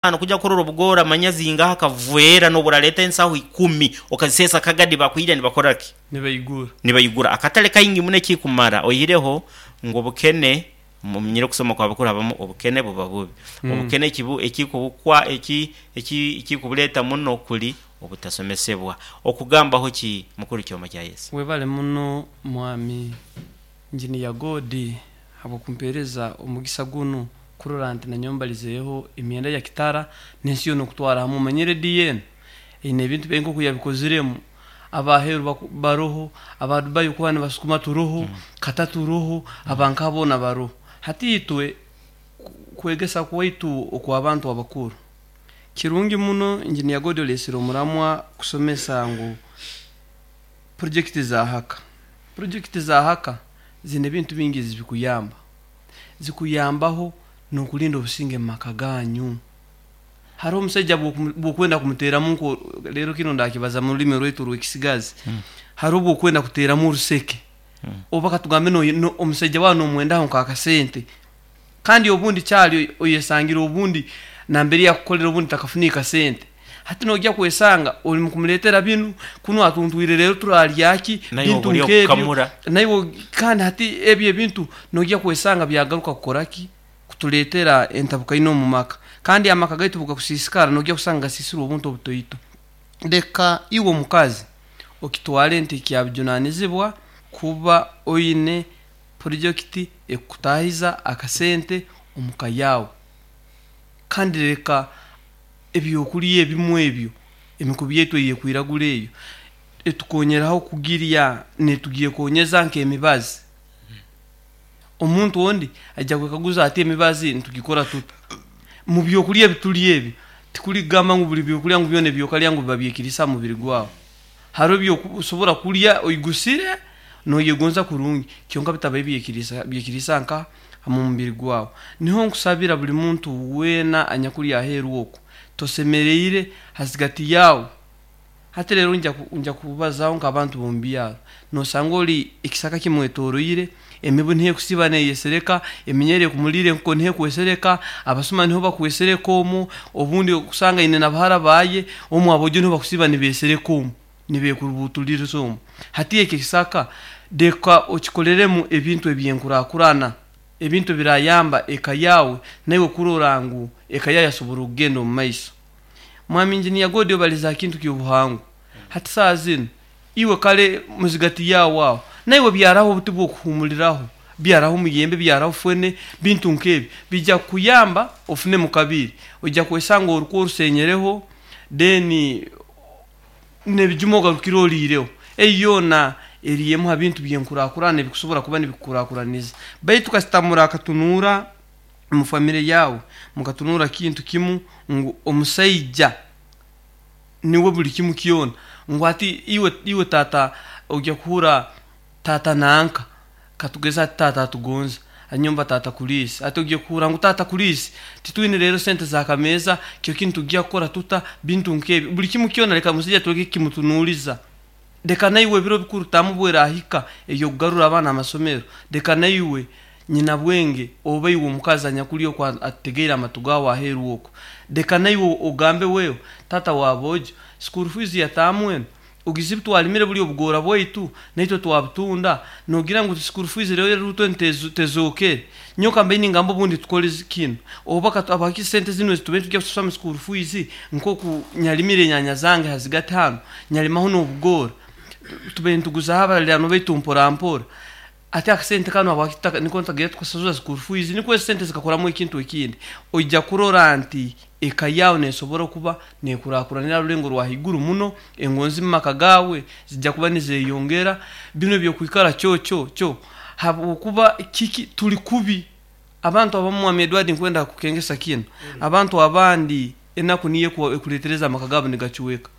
Kugya kurora obugoora manya zingaha akaveera n'oburareeta ensaho ikumi okaziseesa akagadi bakwija nibakora ki? Nibaigura. Nibaigura. Akatare kaingi muno ekikumara oihireho ngu obukene, mumanyire okusoma kwa bakuru habamu obukene buba bubi. Obukene ekibu ekikubukwa eki eki ekikubureeta muno kuri obutasomesebwa. Okugambaho ki Mukuru Kyoma kya Yesu? Webale muno Mwami Engineer God habw'okumpeereza omugisa gunu kurora nti nanyowe mbalizeeho emyenda ya Kitara n'ensi yoona okutwara hamu. Omanyire rediyo enu eine ebintu byayo nk'oku yabikoziremu, ab'aheeru baroho, aba Dubai okuba nibasukuma turoho, Qatar turoho, aba nka boona baroho. Hati itwe kwegesa kwaitu okw'abantu abakuru, kirungi muno Engineer God oleesire omuramwa kusomesa ngu Purojekiti za haka. Purojekiti za haka ziine ebintu bingi ezibikuyamba. Zikuyambaho n'okurinda obusinge omu maka ganyu. Hariho omusaija bw'okwenda kumuteeramu nko reero kinu ndakibaza mu rurimi rwaitu orw'ekisigazi, hariho obw'okwenda kuteeramu oruseke oba katugambe omusaija waawe n'omwendaho nk'akasente Kandi obundi kyali oyesangire obundi nambere yakukolera obundi takafunire kasente. Hati noija kwesanga ori mukumuletera binu, kunu atuntwire rero turalya ki, Naiwe bintu ori nk'ebyo. okukamura. Naiwe kandi hati ebyo ebintu noija kwesanga byagaruka kukora ki? Kutuletera entabukaine omu maka. Kandi amaka gaitu obugakusiisikara noija kusanga gasiisirwe obuntu obutoito. Leka iwe omukazi okitwale nti kyabujunanizibwa kuba oine Purojekiti ekukutahiza akasente omu ka yaawe. Kandi reka ebyokurya ebimwe ebyo, emikubi yaitu eyekwiragura eyo etukonyeraho kugirya netugyekonyeza nk'emibazi. Omuntu ondi aija kwekaguza ati emibazi nitugikora tuta? Mu byokurya ebi turya ebi, tikuri kugamba ngu buri byokurya ngu byona ebi okarya ngu biba byekiriisa aha mubiri gwawe. Hariho ebi osobora kurya oigusire noyegonza kurungi kyonka bitabaire byekiriisa nka omu mubiri gwawe. Niho nkusabira buri muntu weena anyakuri aheeru oku, tosemereire hazigati yaawe. Hati reero ngya kubazaho nk'abantu b'omu byaro. Nosanga ori ekisaka kimwetoroire, emibu niho ekusiiba neyesereka, eminyera ekumuriire enkoko niho ekwesereka, abasuma niho bakwesereka omwo, obundi okusanga aine na bahara baaye, omwo aboojo niho bakusiiba nibeesereka omwo, nibeekurubuutuririza omwo. Hati ekyo ekisaka reka okikoreremu ebintu eby'enkurakurana, ebintu ebirayamba eka yaawe naiwe kurora ngu eka yaawe yasobora okugenda omu maiso. Mwami Engineer Godi obalize aha kintu ky'obuhangwa. Hati saaha zinu Iwe kare muzigati yaawe aho, naiwe byaraho obuti bw'okuhuumuriraho, byaraho omuyembe, byaraho fene, bintu nk'ebyo. Biija kukuyamba ofunemu kabiri. Oija kwesanga orikwo orusenyereho, then n'ebijuma ogarukire oriireho. Eyo yoona eri emwe ha bintu by'enkurakurana ebikusobora kuba nibikukurakuraniza. Baitu kasita murakatunuura omu famire yaawe, mukatunuura kintu kimu ngu omusaija niwe buri kimu kyona ngu hati iwe iwe taata oija kuhurra taata nanka katugeze hati taata atugonza anyomba taata kuriisi hati oija kuhurra ngu taata kuriisi titwine reero sente za kameeza kyo ki nitugya kukora tuta bintu nk'ebyo buri kimu kyona reka omusaija tureke kukimutunuuriza Reka naiwe ebiro bikuru tamu bwerahika eby'okugarura abaana amasomero, reka naiwe nyinabwenge oba iwe omukazi anyakuli oku atutegeire amatu gaawe aheeru oku, reka naiwe ogambe wewe taata wa boojo, school fees ya taamu enu ogize ebi twarimire buri obugoora bwaitu naitwe twabutunda, nogira ngu school fees reero eruutu enu tezookere? Nyowe ka mbe ningamba obundi tukore kinu oba habwaki sente zinu ezi tubaire nitugya kusasura omu school fees Nk'oku nyarimire enyanya zange ha zigati hanu, nyarimaho n'obugoora. Tubaire nituguzaho abariraanwa baitu mpora mpora. Hati akasente kanu habwaki tutaka niko nitagira tukasasura school fees nikwo ezi sente zikakoramu ekintu ekindi. Oija kurora nti eka yaawe neesobora okuba neekurakuranira ha rulengo rwa haiguru muno, engonzi mu maka gaawe zija kuba nizeeyongera. Binu eby'okwikara kyo kyo kyo habwokuba kiki turi kubi. Abantu abamu Mwami Edward nkwenda kukengesa kinu, abantu abandi enaku niyo ekuletereza amaka gaabo nigacweka.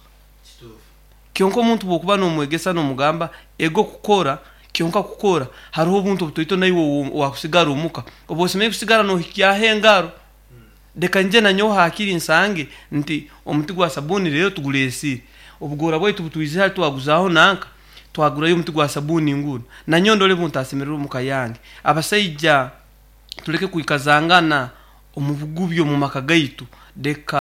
Kyonka omuntu bwokuba nomwegesa nomugamba ego kukora, kyonka kukora haroho obuntu obutoito naiwe owakusigara omuka oba osemerire kusigara nohikyaho engaro. Leka nyije nanyowe hakiri nsange nti omuti gwa sabuni rero tuguresire. Obugoora bwaitu butwizire hati twaguzaaho nanka twagurayo omuti gwa sabuni ngunu. Nanyowe ndole buntasemererwa omuka yange. Abasaija tuleke kwikazangana omu bugubya omu maka gaitu. Leka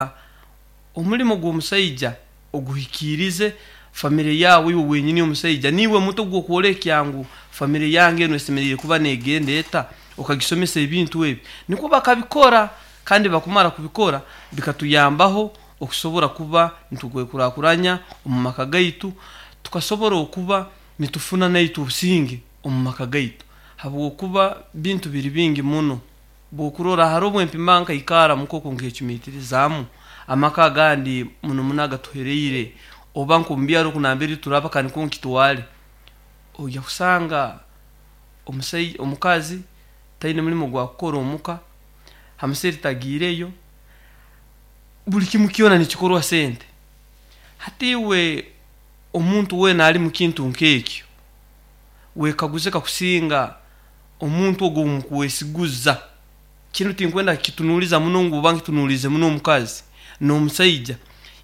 omulimo gw'omusaija oguhikiirize, famire yaawe iwe wenyini omusaija niiwe mutwe gw'okwolekya ngu famire yange enu esemeriire kuba neegenda eta, okagisomesa ebintu ebi. Nikwo bakabikora kandi bakumara kubikora bikatuyambaho okusobora kuba nitukwekurakuranya omu maka gaitu, tukasobora okuba nitufuna naitwe obusinge omu maka gaitu habwokuba bintu biri bingi muno. Bwokurora haroho obwempima nkaikara nk'oku nkecumiitirizaamu amaka agandi muno muno agatuhereire oba nk'omu byaro oku nambere turaba ka nikwo nkitwale, oija kusanga omusaija omukazi taine mulimo ogwakukora omuka, ha musiri tagiireyo, buli kimu kyona nikikorwa sente. Hati iwe omuntu weena ali mu kintu nk'ekyo, wekaguze kakusinga omuntu ogu ou mukwesiguza, kinu tinkwenda kukitunuuliza muno ngu oba nkitunuuliize muno omukazi n'omusaija.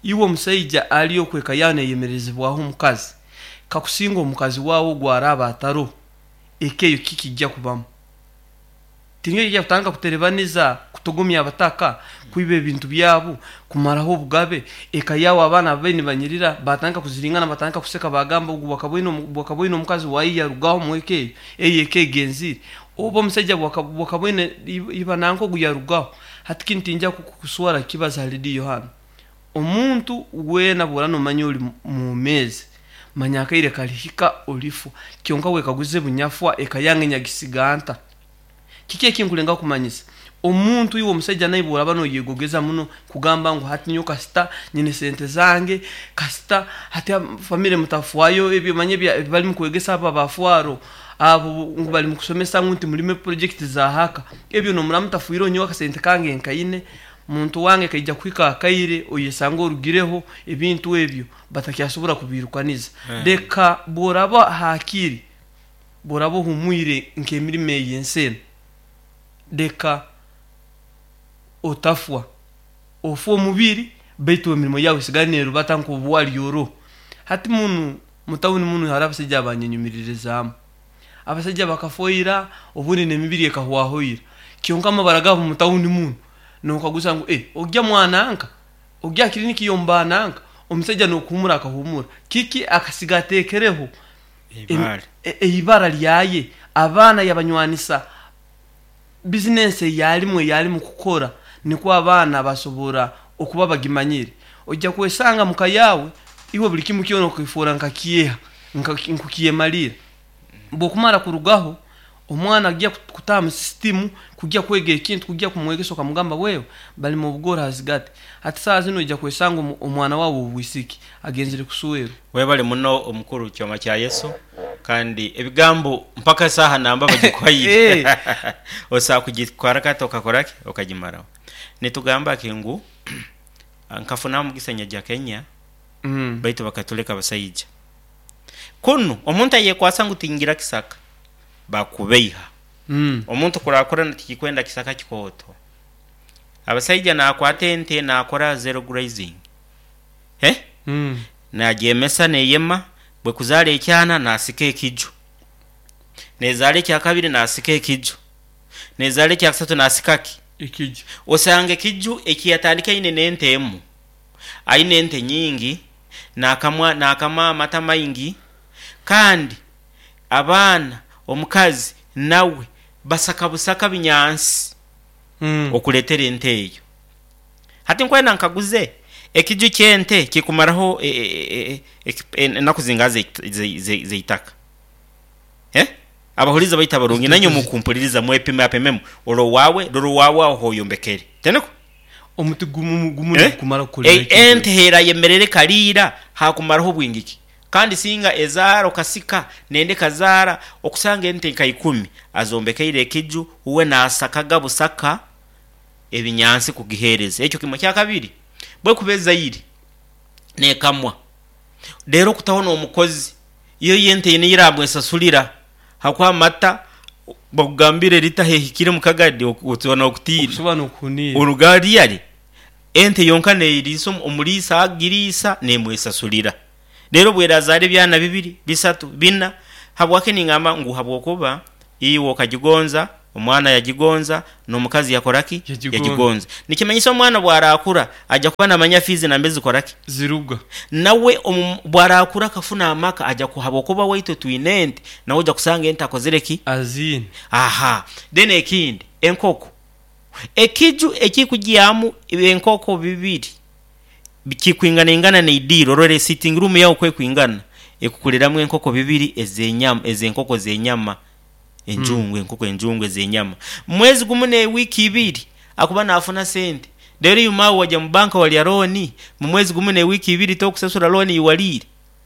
Iwe omusaija ali oku eka yaawe neeyemerezebwaho omukazi, kakusinga omukazi waawe ogu araaba ataroho, eka eyo kiki kijja kubamu? Tinyowe yaija kutandika kuterebaniza, kutogomya abataka, kwiba ebintu byabu, kumaraho obugabe, eka yaawe abaana ababaire nibanyirira baatandika kuziringana batandika kuseka baagamba ogu bwakaba oine omukazi waaye yarugaho omu eka eyo, eyo eka egenzire. Oba omusaija bwakaba oine iba nanka ogu yarugaho. Hati kinu tingya kuswara kukibaza ha rediyo hanu. Omuntu weena bw'oraba nomanya ori mwomeezi, manya akaire kalihika olifwa. Kyonka wekaguze bunyafwa eka yange nyagisiga nta? Kiki eki nkulengaho kumanyisa? Omuntu iwe omusaija naiwe bw'oraba noyegogeza muno kugamba ngu hati nyowe kasita nyine sente zange, kasita hati famire mutafwayo ebyo manya ebi balimu kwegesa abo aba fwaro abo ngu balimu kusomesa ngu nti mulime purojekiti za haka, ebyo nomuraba mutafwireho nyowe akasente kange nkaine, muntu wange kaija kuhika akaire oyesange orugireho ebintu ebyo batakyasobora kubiirukaniza. Leka bw'oraba hakiri Bw'oraaba ohumwire nk'emirimo ey'ensi enu, leka otafwa. Ofwe omubiri baitu emirimo yaawe esigale neerubata nk'obu wali oroho. Hati munu mu tawuni munu haroho abasaija abanyenyumiririzaamu. Abasaija bakafwa ira, obundi n'emibiri ekahwaho ira. Kyonka amabara gaabo mu tawuni munu, nookaguza ngu, Eh, ogya mwananka? Ogya ha kiriniki y'omubaananka? Omusaija n'okuhuumura akahuumura. Kiki akasiga ateekereho? Eibara lyaye, abaana yabanywanisa bizinensi ei alimu ei alimu kukora nikwo abaana basobora okuba bagimanyire. Oija kwesanga muka yaawe iwe buli kimu kyona okefoora nka kyeha, nkukyemalira. Bwokumara kurugaho, omwana agya kutaha mu sisitimu kugya kwega ekintu, kugya kumwegesa okamugamba wewe balima obugori ha zigati. Hati saaha zinu oija kwesanga omwana waawe ow'obwisiki agenzire kuswerwa. Webale muno omukuru Kyoma kya Yesu kandi ebigambo mpaka esaaha namba bagikuhaire osobola kugitwara kati okakora ki okagimaraho. Nitugamba ki ngu nkafuna omugisa nyaja Kenya baitu bakatuleka abasaija. Kunu omuntu ayekwasa ngu tingira kisaka bakubeiha. Omuntu kurakurana tikikwenda kisaka kikooto. Abasaija nakwata ente nakora zero grazing. Eh? Nagyemesa neyema, bwekuzaara ekyana nasika ekiju. Nezaara ekyakabiri nasika ekiju. Nezaara ekyakusatu nasika ki? Ekiju. Osanga ekiju ekiyatandika aine n'ente emu, aine ente nyingi, nakamwa nakama amata maingi, kandi abaana, omukazi nawe basaka busaka binyansi okuletera ente eyo. Hati nkwenda nkaguze, ekiju ky'ente kikumaraho enaku zingaha z'eitaka? Abahuliiriza baitu abarungi, nainywe mukumpuliriza mwepimapimemu, ora owaawe, rora owaawe aho h'oyombekere. Tiniko? Omuti gumu gumu nigukumara kukorera ekintu Ente ekyo. h'erayemerera ekariira, haakumaraho bwingi ki? Kandi singa ezaara okasika, nenda ekazaara, okusanga ente nka ikumi azombekeire ekiju, uwe naasakaga busaka ebinyansi kugiheereza. Ekyo kimwe. Ekyakabiri, bwekuba ezaire nekamwa, reero okutaho n'omukozi, iyo yo ente eine ei eramwesasurira ahakuba amata bakugambire lita hehikire omu kagadi otuba nokutiina. Okusobola n'okuhuniira. Oruga hariya ente yonka neeriisa omuriisa agiriisa nemwesasurira. Reero bwerazaara ebyana bibiri, bisatu, bina, habwaki ningamba ngu habwokuba iwe okagigonza. Omwana yagigonza n'omukazi yakora ki? Yagigonza. Yagigonza. Nikimanyisa omwana bw'arakura aja kuba namanya fiizi nambere zikora ki? Ziruga. Nawe omu bw'arakura akafuna amaka aja ku habw'okuba waitwe twine ente, nawe oja kusanga ente akozire ki? Aziine. Aha. Then ekindi, enkoko. Ekiju ekikugyamu enkoko bibiri kikwinganaingana n'eidiiro, orora sitting room yawe oku ekwingana, ekukuriramu enkoko bibiri ez'enyama, ez'enkoko z'enyama enjungu, enkoko enjungu ez'enyama. Mu mwezi gumu n'ewiiki ibiri akuba naafuna sente. Reero iwe maawe waja mu banka warya looni, mu mwezi gumu n'ewiiki ibiri tokusasura looni ei wariire.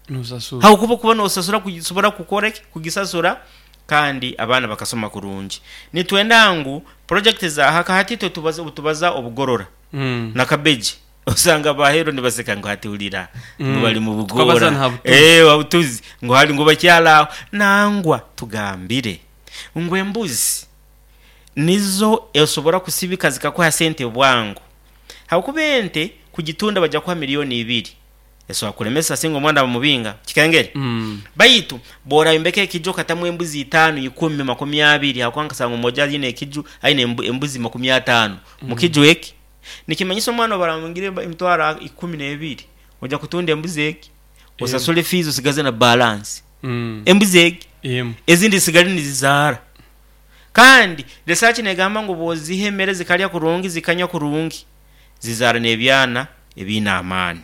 Nosasura. Ahabw'okuba okuba nosasura kusobora kukora ki? Kugisasura kandi abaana bakasoma kurungi. Nitwenda ngu project za haka hati itwe tubaza obutubaza obugorora na kabeji osanga abaheru nibaseka ngu hati hurira ngu bari mu Tukabaza bugoora na Butuzi. eh Butuzi ngu hari ngu bakyari aho. Nangwa tugambire ngu embuzi nizo osobora kusibika zikakuha sente bwangu ahabw'okuba ente kugitunda baija kukuha milioni ibiri. Esobola kulemesa singa omwana bamubinga. Kikengere? Baitu bw'orayombeka ekiju okatamu embuzi itaanu, ikumi, makumi abiri, ahabw'okuba nkasanga omwojo aine ekiju aine embuzi makumi ataano mu kiju eki, nikimanyisa omwana obu baramubingire emitwaro ikumi n'ebiri, oija kutunda embuzi egi, osasule fiizi osigaze na balansi. Embuzi egi, ezindi zisigale nizizaara. Kandi research negamba ngu bw'oziha emere zikarya kurungi, zikanywa kurungi, zizaara n'ebyana ebiine amaani.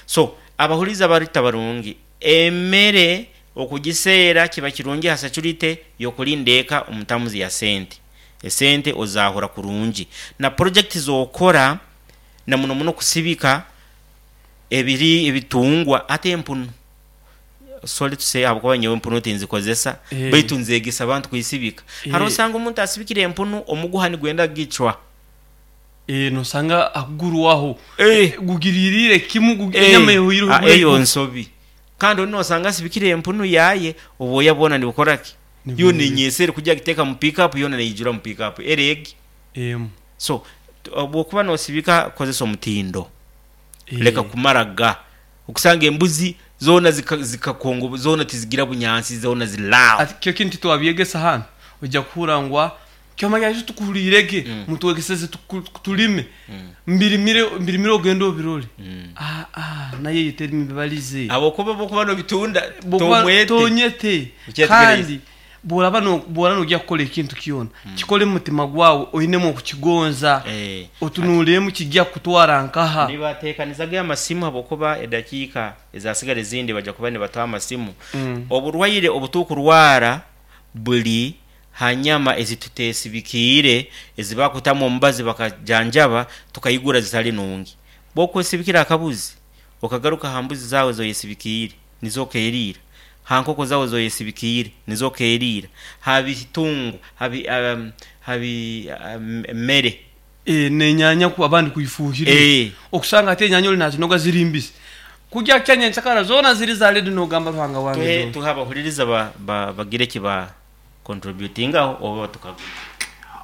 So, abahuriize abarita barungi, emere okugiseera kiba kirungi ha securite y'okurinda eka omu terms ya sente. Esente ozahura kurungi. Na project z'okora na muno muno kusibika ebiri ebitungwa hati empunu, sorry to say ahabw'okuba nyowe empunu tinzikozesa baitu nzegesa abantu kuisibika. Hariho osanga omuntu asibikire empunu omuguha nigwenda kugicwa. Ee, nosanga akugurwaho Eh. gugiririire kimu Eh, enyama ehoireho ah, eyo bwegu. nsobi. Kandi ondi nosanga asibikire empunu yaye, obwoya bwona nibukora ki? Nibwija. Yona enyesa eri kugya agiteeka mu pick up yona neijura mu pick up eri egi. Emu. So, bwokuba nosibika kozesa omutindo. Eh. Leka kumara ga. Okusanga embuzi zona zikakongo zona tizigira bunyansi zona ziri aho. Ati kyo kintu titwabyegesa hanu, oija kuhurra ngu ah, kyoma kyaitu tukuhuriire gye, mutwegeseze tulime, mbirimire mbirimire ogende obirore. Ah ah, nayo eyo teri mibarize. Habwokuba obwokuba nobitunda Bwokuba tomwete. tonyete. Okyetegereize. Kandi bworaba no bworaba nogya kukora ekintu kyona, kikore mu mutima gwawe oinemu okukigonza, Eh. otunuuliremu kigya kukutwara nkaha. Nibateekaniza ge amasimu habwokuba edakiika ezasigara ezindi baija kuba nibatuha amasimu. Oburwaire obutukurwara buli ha nyama ezi tutesibikiire ezi bakutamu omubazi bakajanjaba tukaigura zitali nungi. Bwokwesibikira akabuzi okagaruka ha mbuzi zaawe ezi oyesibikiire nizo okeriira, ha nkoko zaawe ezi oyesibikiire nizo okeriira, ha bitungo, ha bi mere. Ee, n'enyaanya ku abandi kuifuuhirira. Ee. Okusanga hati enyaanya ori naazinoga ziri mbisi. Kugya kukya nyenkyakara zoona ziri za redi noogamba Ruhanga wange Tuhe zoona. tuhe abahuririza ba ba bagire eki ba contributingaho oba tukagume.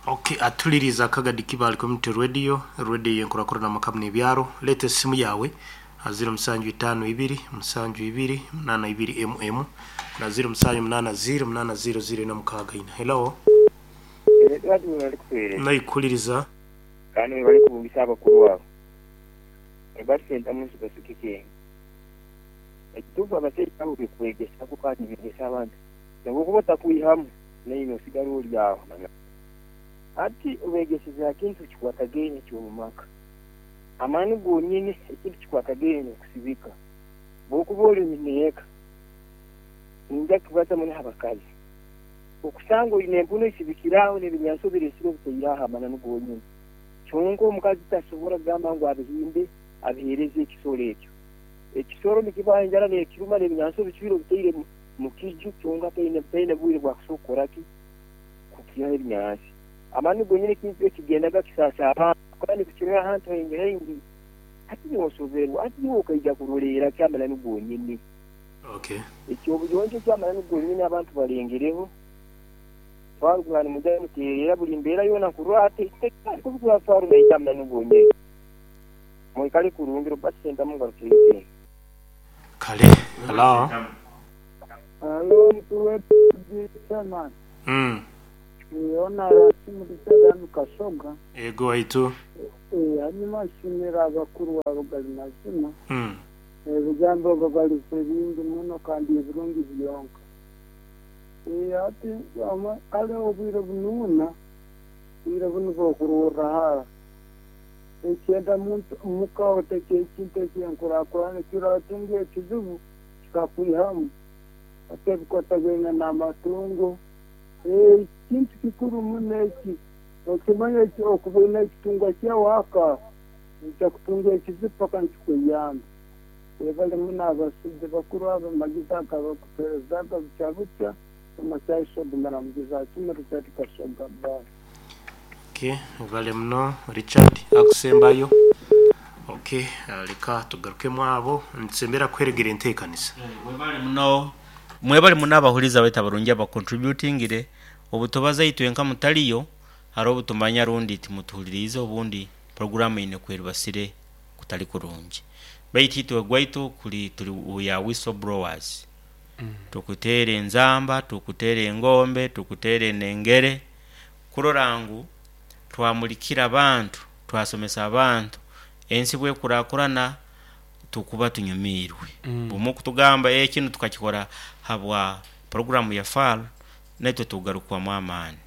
Ok, atuliriza Kagadi Kibaale Community Radio, radio y'enkurakurana amaka n'ebyaro. Leeta esimu yaawe aha ziro musanju itaano ibiri, musanju ibiri, munaana ibiri emu emu na ziro musanju munaana ziro, munaana ziro ziro ina mukaaga ina. Hello. Edward webale kutuhereza. Naikuhuliriza. Kandi webale kubugisa abakuru abo. Robert Sentamu Nsukasu Kikenge. Ekituufu abasaija abo bekwegesaku kandi begesa abantu. Nobu okuba otakwihamu naiwe osigara ori aho. Hati obegeseze aha kintu kikwatagaine eky'omu maka. Amaani gonyini ekintu kikwatagaine n'okusibika. Bwokuba ori nyineeka, ninja kubaza muno aha bakazi. Okusanga oine empunu esibikire aho n'ebinyansi obiresire obitaire aho amananu gonyini. Kyonka omukazi tasobora kugamba ngu abihimbe abihereze ekisoro ekyo. Ekisoro nikiba enjara nekiruma n'ebinyansi obicwire obitaire mu kiju kyonka taine bwire bwakusobola kukora ki? Kukihaho ebinyansi. Amananu gonyini ekintu ekigendaga kisaasa abantu kandi tukirora ahantu haingi haingi. Hati iwe osoberwa, hati iwe okaija kuroleera ki amananu gonyini? Okay. Eky'obuyonjo eky'amananu gonyini abantu balengereho. Twarugura nimugya nimuteerera buri mbeera yoona nkurora hati kubigura twarora eky'amananu gonyini. Mwikale kurungi Robert Sentamu ngarukireyo Kenya. Kale. Hello. Halo mukuru w'ekibiina Chairman. Mm. Hoona Rasimu Richard hanu Kasoga. Ego waitu. Hanyuma nsiimire abakuru abo gali mazima. Ebigambo babalize bingi muno kandi ebirungi byonka. Hati kale obwire bunuuna, obwire bunu bw'okurorra hara. Ekyenda muntu muka oteke ekintu eky'enkurakurana ekiratunga ekizibu kikakwihamu. Hati ebikwatagaine n'amatungo, ekintu kikuru muno eki, nokimanya eki okuba oine ekitungwa kyawe aka, noija kutunga ekizibu paka nikikweyamba. Webale muno abasaija bakuru abo amagezi ago abakutuherezaga bukya bukya, Kyoma kya Yesu ogumira mugizi akimwe Richard Kasoga bye. Okay, webale muno Richard akusembayo. Okay, leka tugarukemu abo nitusemberera kuheregera enteekanisa. Webale muno mwebale muno abahuriza baitu abarungi aba contributingire obutubaza itwe nka mutariyo hariho obutumanya rundi timutuhuririize obundi puroguramu eine kweribasire kutari kurungi baitu itwe gwaitu kuri turi we are whistle blowers tukuteera enzamba tukuteera engombe tukuteera enengere kurora ngu twamurikira abantu twasomesa abantu ensi bwekurakurana tukuba tunyumiirwe. Bumwe kutugamba ee kinu tukakikora habwa puroguramu ya FAR naitwe tugarukwamu amaani.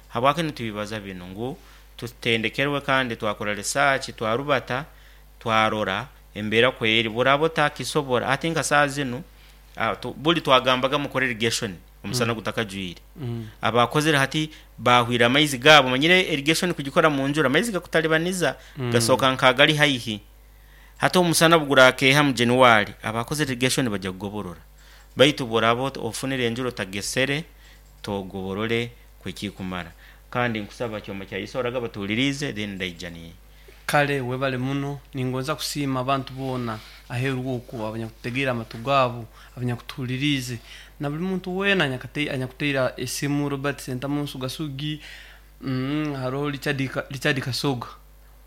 Habwaki nitubibaza binu ngu tutendekerwe kandi twakora research twarubata twarora embeera ku eri bworaba otakisobora hati nka saaha zinu buri twagambaga mukore irrigation omusana gutakajwire. Abakozire hati baahwire amaizi gaabo omanyire irrigation kugikora munjura amaizi gakutaribaniza gasoka nk'agari haihi. Hati omusana obugurakeeha mu January, abakozire irrigation baija kugoborora. Baitu bworaba ofunire enjura otagesere, togoborore kw'ekikumara. Kandi nkusaba Kyoma kya Yesu oraga batuhuririize then ndaija ni. Kale webale muno. Ningonza kusiima abantu boona aheeru oku abanyakututegeire amatu gaabo, abanyakutuhuririize, na buli muntu weena anyakuteire esimu, Robert Sentamu Nsuga-Sugi, haroho Richard Kasoga.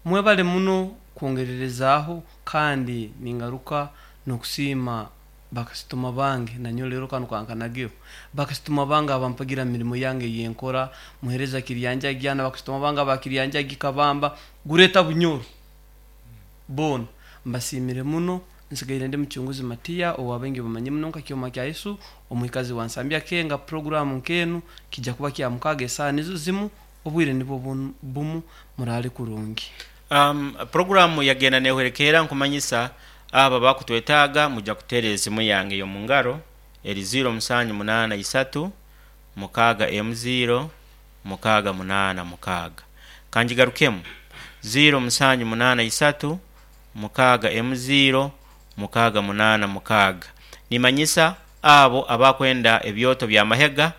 Mwebale muno kwongererezaaho kandi ningaruka n'okusiima bakasitoma bange, nanyowe leero kanu kankanageho, bakasitoma bange abampagira mu mirimo yange ey'enkora, Muheereza Kiryanjagya na bakasitoma bange aba Kiryanjagi Kabamba, Gureta Bunyoro, boona mbasiimire muno. Nsigaire ndi Mucunguzi Matiya owa baingi bamanyire muno nka Kyoma kya Yesu, omwikazi wa Nsambya Kenga. Puroguraamu nk'enu kija kuba Kyamukaaga esaaha nizo zimu, obwire nibwo bumu. Muraale kurungi. Puroguraamu yagenda nehwerekeera nkumanyisa abo abakutwetaaga mwija kuteera esimu yange ey'omungaro eri ziiro musanju munaana isatu mukaaga emu ziiro mukaaga munaana mukaaga. Kangigarukemu, ziiro musanju munaana isatu mukaaga emu ziiro mukaaga munaana mukaaga. Nimanyisa abo abakwenda ebyoto by'amahega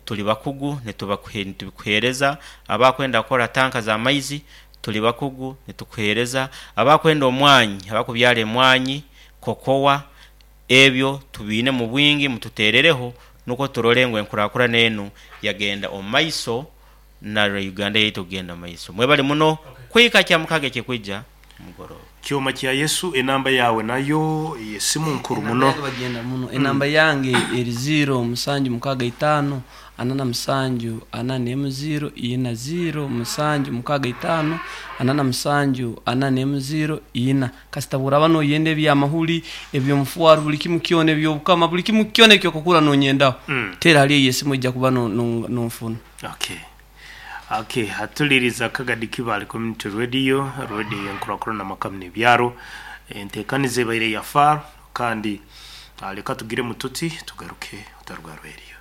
turi bakugu nitubikuheereza, abakwenda kukora tanka z'amaizi turi bakugu nitukuheereza, abakwenda omwanyi, abakubyara emwanyi, kokowa, ebyo tubiine mu bwingi mututeerereho nukwo turole ngu enkurakurana enu yagenda omu maiso na Uganda yaitu kugenda omu maiso. Mwebale muno kuhika Kyamukaaga ekikwija mugoroba. Kyoma kya Yesu enamba yaawe nayo ey'esimu nkuru Enamba muno. yange bagyenda muno. Enamba yange eri ziiro musanju mukaaga itaano ana na musanju ana n'emu ziiro ina ziiro musanju mukaaga itaano ana na musanju ana n'emu ziiro ina. Kasita bw'oraaba nooyenda eby'amahuri, eby'omufuaro, buli kimu kyona, eby'obukama, buli kimu kyona eki okukura noonyendaho, teera hali eyo esimu oija kuba nonfuna. Okay. Okay, atuliriza Akagadi Kibale Community Radio, radio ey'enkurakurana amaka n'ebyaro. Enteekaniza ebaire ya FAR kandi leka tugiremu tuti tugaruke otaruga rweriyo.